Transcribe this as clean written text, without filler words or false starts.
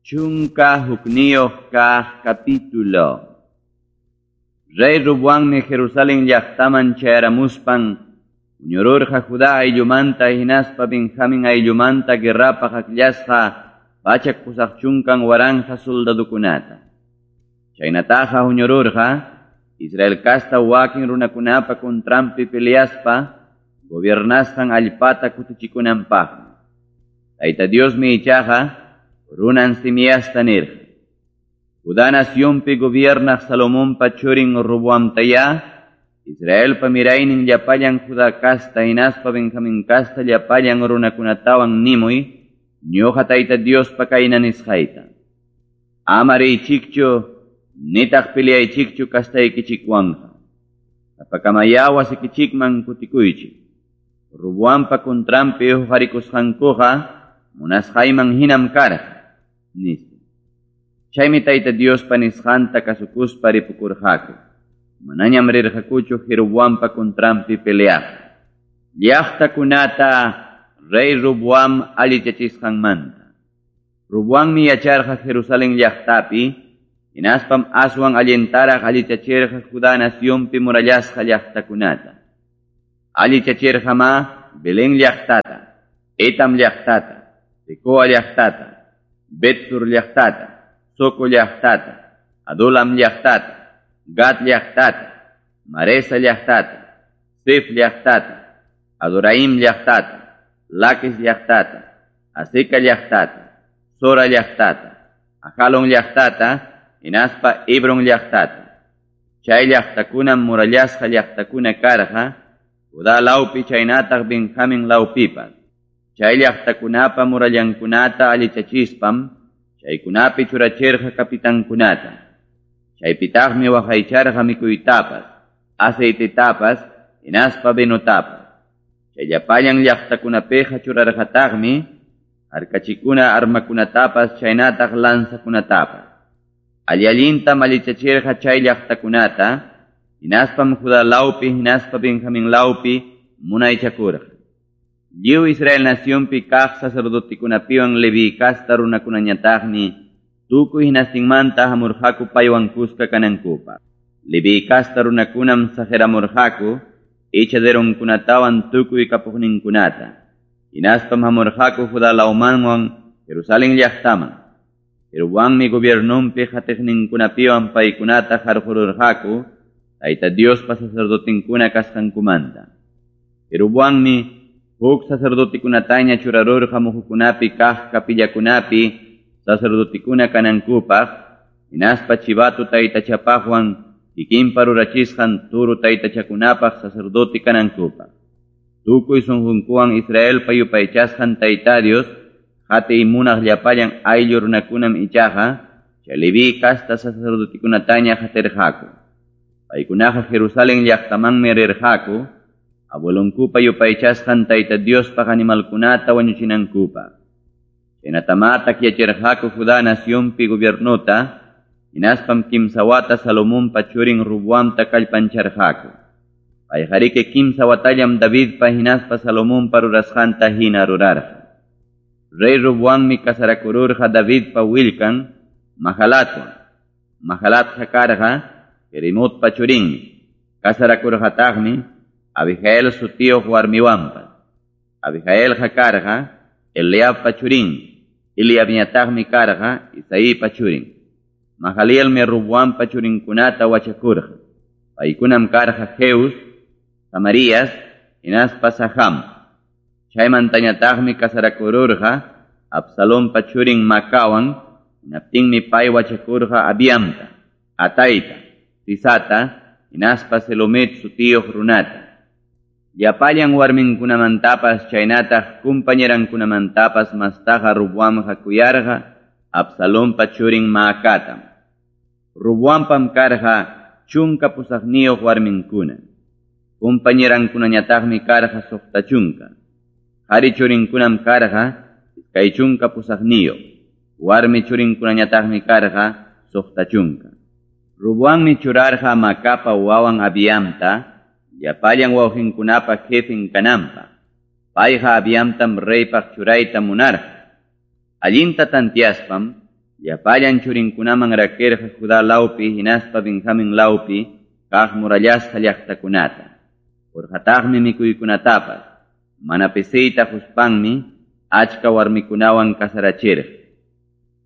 11 kaq capítulo. Rey Roboammi Jerusalén llaqtaman chayaramuspan huñururqa Judá ayllumanta hinaspa Benjamín ayllumanta guerrapaq akllasqa 880,000 soldadokunata. Chaynataqa huñururqa Israel casta wakin runakunapa contranpi peleaspa gobiernasqan allpata kutichikunanpaqmi. Tayta Diosmi ichaqa runan Simiasta nirqa. Judá nacionpi gobiernaq Salomonpa churin Roboamtayá, Israelpa miraynin llapallan Judá casta hinaspa Benjamín casta llapallan runakunatawan nimuy, ñuqa Tayta Diospa kayna nisqayta. Ama riychikchu, nitaq peleaychikchu castaykichikwanqa. Sapakamayá wasikichikman kutikuychik. Roboampa contranpi huqarikusqankuqa munasqayman hinam karqa, nispa. Chaymi Tayta Diospa nisqanta kasukuspa ripukurqaku. Manañam rirqakuchu Jeroboampa contranpi peleaq. Llaqtakunata rey Roboam allichachisqanmanta. Roboammi yacharqa Jerusalén llaqtapi, hinaspam aswan allintaraq allichachirqa Judá nacionpi murallasqa llaqtakunata. Allichachirqamá Belén llaqtata, Etam llaqtata, Tecoa llaqtata, Betsur llaqtata, Soco llaqtata, Adulam llaqtata, Gat llaqtata, Maresa llaqtata, Sif llaqtata, Adoraim llaqtata, Laquis llaqtata, Azeca llaqtata, Sora llaqtata, Ajalon llaqtata, hinaspa Hebron llaqtata. Chay llaqtakunam murallasqa llaqtakuna karqa, Judá lawpi chaynataq Benjamín lawpipas. Chay llaqtakunapa murallankunata allichachispam, chaykunapi churachirqa kapitankunata. Chaypitaqmi waqaycharqa mikuytapas, aceitetapas, hinaspa vinotapas. Chay llapallan llaqtakunapiqa churarqataqmi harkachikuna armakunatapas chaynataq lanzakunatapas. Alli-allintam allichachirqa chay llaqtakunata, hinaspam Judá lawpi hinaspa Benjamín lawpi munaychakurqa. Lliw Israel nacionpi kaq sacerdotikunapiwan Leví casta runakunañataqmi tukuy hinastinmanta hamurqaku paywan kuska kanankupaq. Leví casta runakunam saqiramurqaku echaderonkunatawan tukuy kapuqninkunata. Hinaspam hamurqaku Judá lawmanwan Jerusalén llaqtaman. Jeroboammi gobiernonpi qatiqninkunapiwan paykunata qarqururqaku Tayta Diospa sacerdotinkuna kasqankumanta. Jeroboammi huk sacerdotikunataña churarurqa muhukunapi kaq capillakunapi sacerdotikuna kanankupaq, hinaspa chivato taytachapaqwan kikinpa rurachisqan turu taytachakunapaq sacerdote kanankupaq. Tukuy sunqunkuwan Israelpa yupaychasqan Tayta Dios, qatiy munaq llapallan ayllu runakunam ichaqa, chay Leví casta sacerdotikunataña qatirqaku. Paykunaqa Jerusalén llaqtamanmi rirqaku, abuelonkupa yupaychasqan Tayta Diospaq animalkunata wañuchinankupaq. Chaynatamá takyachirqaku Judá nacionpi gobiernota, hinaspam kimsa wata Salomonpa churin Roboamta kallpancharqaku. Payqariki kimsa watallam Davidpa hinaspa Salomonpa rurasqanta hina rurarqa. Rey Roboammi casarakururqa Davidpa willkan Mahalatwan. Mahalatqa karqa Jerimotpa churinmi. Casarakurqataqmi Abigail sutiyuq warmiwanpas. Abigailqa karqa Eliabpa churinmi. Eliabñataqmi karqa Isaipa churin. Mahalielmi Roboampa churinkunata wachakurqa. Paykunam karqa Jeus, Samarías, hinaspa Saham. Chaymantañataqmi casarakururqa Absalompa churin Macawan, hinaptinmi pay wachakurqa Abiamta, Ataita, Sisata, hinaspa Selomit sutiyuq runata. Llapallan warminkunamantapas chaynataq compañerankunamantapas mastaqa Roboamqa kuyarqa Absalompa churin Maacatam. Roboampam karqa 18 warminkuna. Compañerankunañataqmi karqa 60. Qhari churinkunam karqa 28. Warmi churinkunañataqmi karqa 60. Roboammi churarqa Macapa wawan Abiamta, llapallan wawqinkunapa jefen kananpaq. Payqa Abiamtam reypaq churayta munarqa. Allinta tantiaspam llapallan churinkunaman rakirqa Judá lawpi hinaspa Benjamín lawpi kaq murallasqa llaqtakunata. Qurqataqmi mikuykunatapas, mana pisiyta quspanmi achka warmikunawan casarachirqa.